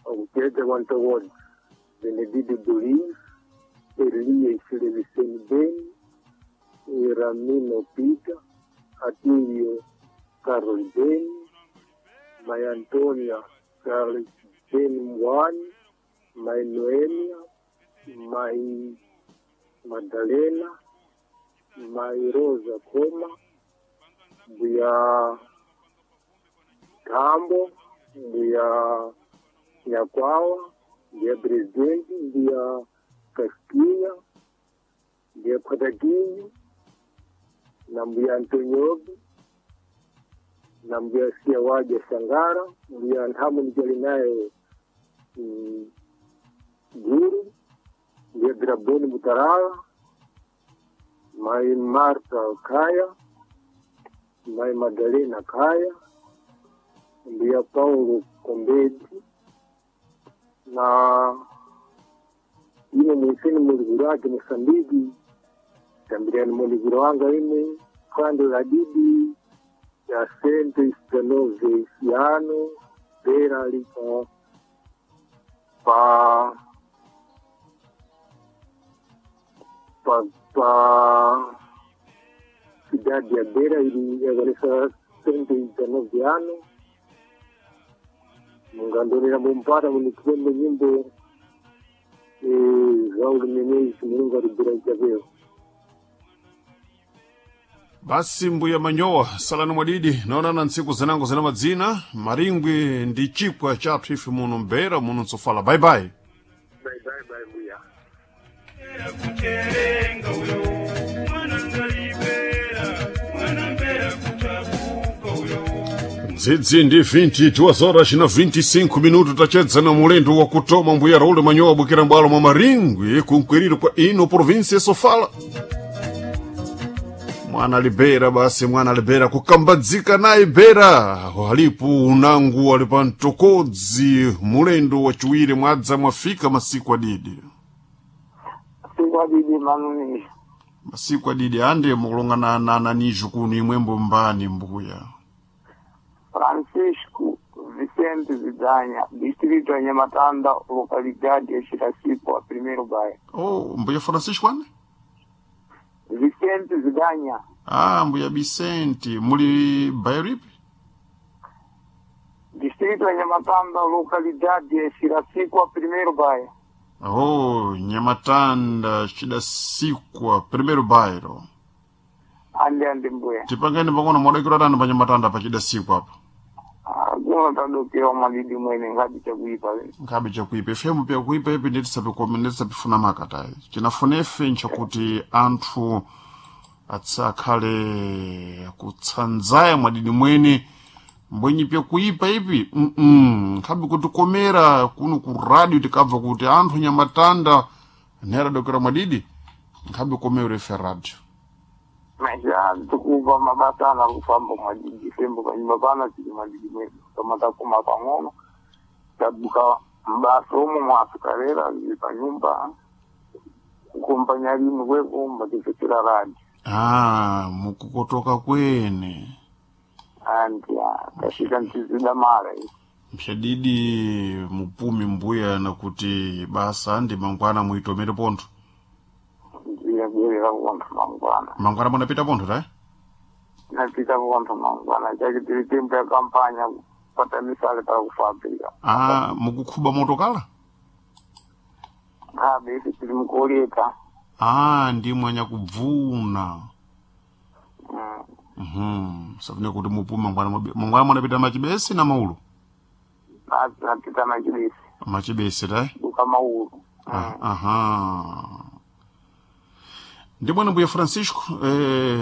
Okucheza Wantowod, Benedito Duris, Elias Levisen Ben, Ramino Pita, Atilio Carlos Ben, Maria Antonia Carlos Ben Mwani, Mai Noemia, Mai Madalena, Mai Rosa Koma, Mbuya Tambo, Mbuya Nyakwawa, Mbuya Presidente, Mbuya Casquinha, Mbuya Pataquinho, na Mbuya Antoniobi, na Mbuya Siawaja Sangara, Mbuya Nhamu nijali naye Guru, Mbuya Draboni Mutarala, Mai Marta Kaya, Mai Madalena Kaya, Mbuya Paulo Kombedi na ine mwisini muliguru wake Mosambiki tambiriani muliguru wanga ine kwando la didi ya sente isitanove isiano bera liko pa pa pa cidade ya Beira ili yakonesa 119 ano mungandonera mumpata munikipembe nyimbo Raul Menezes Mulungu alibira ijapeo. Basi mbuya Manyowa salani mwadidi naonana ntsiku zinango zina madzina maringwi ndi chipwa chathu ife muno mbera muno ntsofala bye bye. Bye bye bye mbuya. Kucherenga uyo mwana ngalibera mwana mbera kutabuka uyo. Ndzidzi ndi 22 horas na 25 minuto tachedzana mulendo wa kutoma mbuya Raul Manyowa bukira mbwalo mwa maringwi kunkwiriro kwa ino provinsi ya Sofala. Mwana libera basi mwana libera kukambadzika naye bera alipo unangu ali pa mtokodzi mulendo wachiwiri mwadza mwafika masiku adidi. Siku adidi manuni. Masiku adidi ande mukulongana na nanijo kuno imwembo mbani mbuya. Francisco Vicente Zidanya, distrito ya Nhamatanda, localidade ya Chirasipo, a primeiro bairro. Oh, mbuya Francisco ane? Vicente Zidanya, Ah, mbuya Vicente, muli bairro ipi? distrito ya Nhamatanda, localidade ya Chirasipo, a primeiro bairro. Oh, Nhamatanda, Chidasikwa, primeiro bairro. Ande ande mbuya. Tipangeni pang'ono mwadakira tani pa Nhamatanda pa Chidasikwa apa. Kuno tadokera madidi mwene ngati chakuipa. Nkhabe chakuipa ifemu pyakuipa ipi nditisapifuna makatayi chinafuna ife nchakuti anthu atsakhale kutsanzaya mwadidi mwene mbwenyi pyakuipa ipi nkhabe kutikomera kuno ku radio tikabva kuti anthu Nyamatanda nera dokera mwadidi nkhabe komera ife radio. Maisha tukuva mabasa ana kufamba mwadidi fembo panyumba pana tili mwadidi mwene kama takuma pang'ono tabuka mbasa umo mwasukalera lili panyumba kukompanya lini kwekumba tifetera radi. Ah, mukukotoka kwene. Anti tafika ntizida mara iyi. Mshadidi mupumi mbuya nakuti basa ndi mangwana muitomere pontho. Ndiyabwerera kukontho mangwana. Mangwana munapita pontho tayi? Napita kukontho mangwana chake tili tempo ya kampanya kupata misale para kufabirika. Ah, mukukhuba motokala? Nkhabe ife tili mukoleka. Ah, ndi mwanyakubvuna. Safune kuti mupume mangwana mangwana munapita machibesi na maulo? Napita machibesi. Machibesi tayi? Buka maulu. Ah, aha. Ndi bwana mbuya Francisco,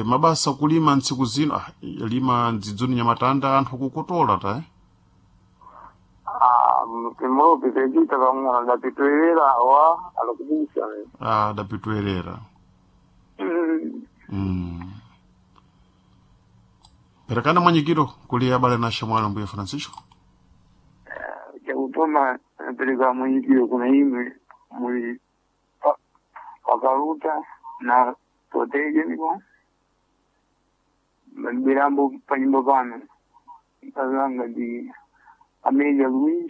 mabasa kulima ntsiku zino, ah, lima ndzidzuni Nyamatanda anthu akukotola tayi? Ah, mpemopi pechita pang'ono dapitoerera wa alikubusa. Ah, dapitoerera. Perekana mwanyikiro kuli abale na shamwali mbuya Francisco. Chakutoma napereka mwenyikiro kuna imwe muli pakaluta na potejeniko maliberambo panyumba pano kazanga ndi Amelia Luis.